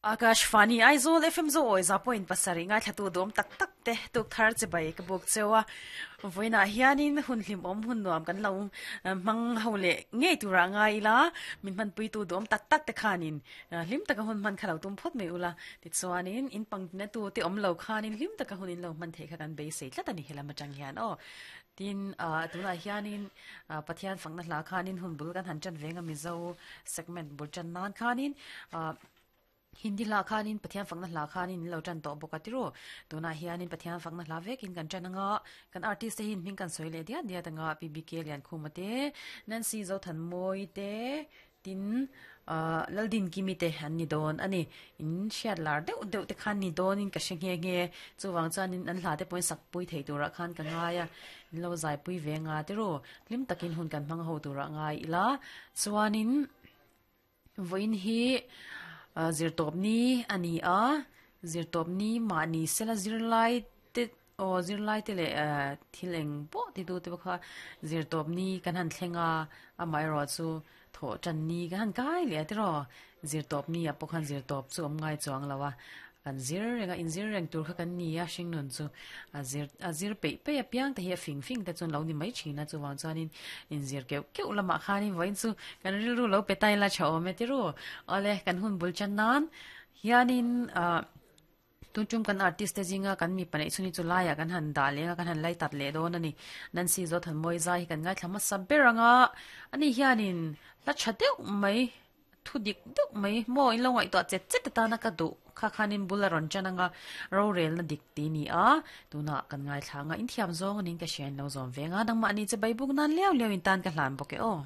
Akashvani Aizawl FM Zo awi za point pasarih ngaithlatu dawm tak tak te tuk thar che bai ka buk cheu a. Vawiinah hianin hun hlimawm hun nuam kan lo hmang ho leh ngei turah ngai ila min hmanpuitu dawm tak tak te khanin hlim taka hun hman kha lo tum phawt mai ula. Tichuanin in pangtina tu te awm lo khanin hlim taka hun in lo hman theih kha kan beisei tlat a ni helam atang hian aw. Tin tunah hianin Pathian fakna hla khanin hun bul kan han tan veng a Mizo segment bul tan nan khanin Hindi hla khanin Pathian fakna hla khanin in lo tan tawh bawk a ti ru. Tunah hianin Pathian fakna hla vekin kan tan anga kan artist te hi hming kan sawi leh diat diat anga PBK Liankhuma te, Nancy Zothanmawii te, Tin, Laldin Kimi te an ni dawn a ni. In hriat lar deuh deuh te khan ni dawnin ka hre nghe nghe. Chuvang chuanin an hla te pawhin sak pui thei turah khan ka ngai a, in lo zai pui ve nga te ru. Hlim takin hun kan hmang ho turah ngai ila. Chuanin vawiin hi zirtawp ni a ni a, zirtawp ni mahni sela zirlai te Aw zirlai te leh thil eng pawh ti tu te pawh kha zirtawp ni kan han thleng a, amaherawh chu thawh tan ni kan han kai leh a tiraw? Zirtawp ni ah pawh khan zirtawp chu awm ngai chuang lo a, kan zir reng a, inzir reng tur kha kan ni a hringnun chu a zir a zir peih peih apiang te hi a fing fing te chuan lo ni mai thin a, chuvang chuanin inzir keuh keuh lamah khanin vawiin chu kan rilru lo pe ta ila tha awm e tiraw? Awle kan hun bul tan nan hianin ah. Tun tum kan artist te zinga kan mipa neih chhun hi chu laiah kan han dah leng a, kan han lai tat leh dawn a ni. Nancy Zothanmawii zai hi kan ngaithla hmasa ber ang a, ani hianin hla tha deuh mai, thu dik deuh mai maw in lo ngaihtuah chet chet atana ka duh kha khanin bul a rawn tan ang a, rorelna dik tih ni a, tunah kan ngaithla ang a, inthiam zawng anin ka hria in lo zawm ve ang a, nangmahni che bai buk nan liau liau in tan ka hlan bawk e aw.